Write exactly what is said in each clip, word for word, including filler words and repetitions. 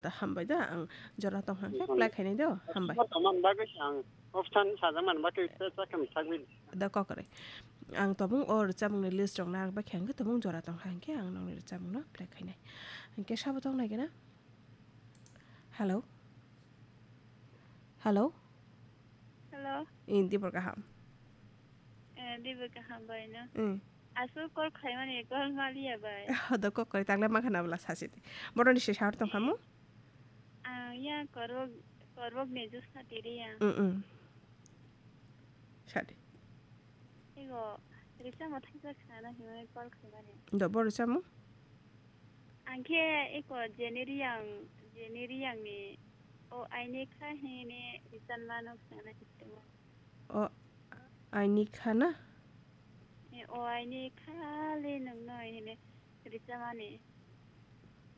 Da hambai da, ang jora tong hang khe play khainai do, hambai. Tongmani bagwi ang option sajak mani bagwi se chakam sagwi. Da kokore. Ang tobung o rwchapmungni list rok narwk bai khe ang khe tobung jora tong hang khe ang nokni rwchapmungno play khainai. Hingke sabo tong nai gana? Hello? Hello? Hello? Indi bor kaham. Eh, dibe kaham bai no. Mm. Aswk call khaimani call maliya bai. Hodo kok kori takle ma khana bwla sasi di. Boroni se sahor tong khamu? Ang ya korok, korok ni jus na tiri ya. Mm, mm. Sadi. Ego, risa mo thangsa khana himani call khaimani. Do bor risa mo? Ang khe eko Jenny Reang, Jenny Reang ni o aini kha hini risan mano khana hittemo. O aini kha na? E, o aini kha le nungno hini risamani.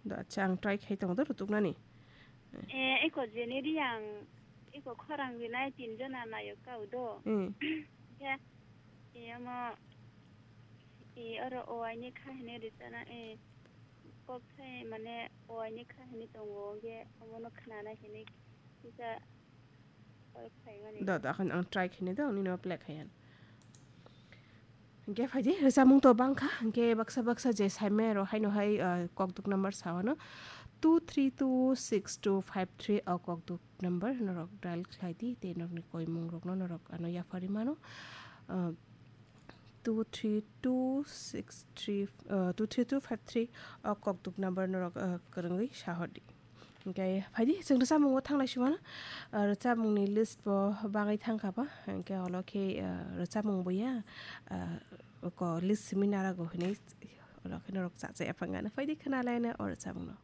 Do acha ang try khai tongo do rutuknani. E, eko Jenny Reang, eko khorang rinai tin jona nayok kau do. Hmm. Khe, e, omo, e, oro o aini kha hini risana, e, kok sai mane o aini kha hini tongo, hingke omono khnana hini kisa call khaimani. Do, do, akhon ang try khaini do, nini play khaiyan. Hingke phaidi, rwchapmung to bangkha, hingke baksa baksa je saimai rok haino hai, ah, kokduk number sawano, two three two six two five three o kokduk number norok dial khlaidi, tei norokni koimung rokno norok ano yapharwi mano. Ah, two three two six three, ah, two three two five three o kokduk number norok, ah, kwrwngwi sahordi. Hingke phaidi, chwng rwchapmungo thanglai simano, ah, rwchapmungni list bo bangwi thangkha ba, hingke olo khe, ah, rwchapmung bo ya, ah, oko list simi narago hinwi olo khe norok cha cha yaphangano. Phaidi khwnalaina o rwchapmungno.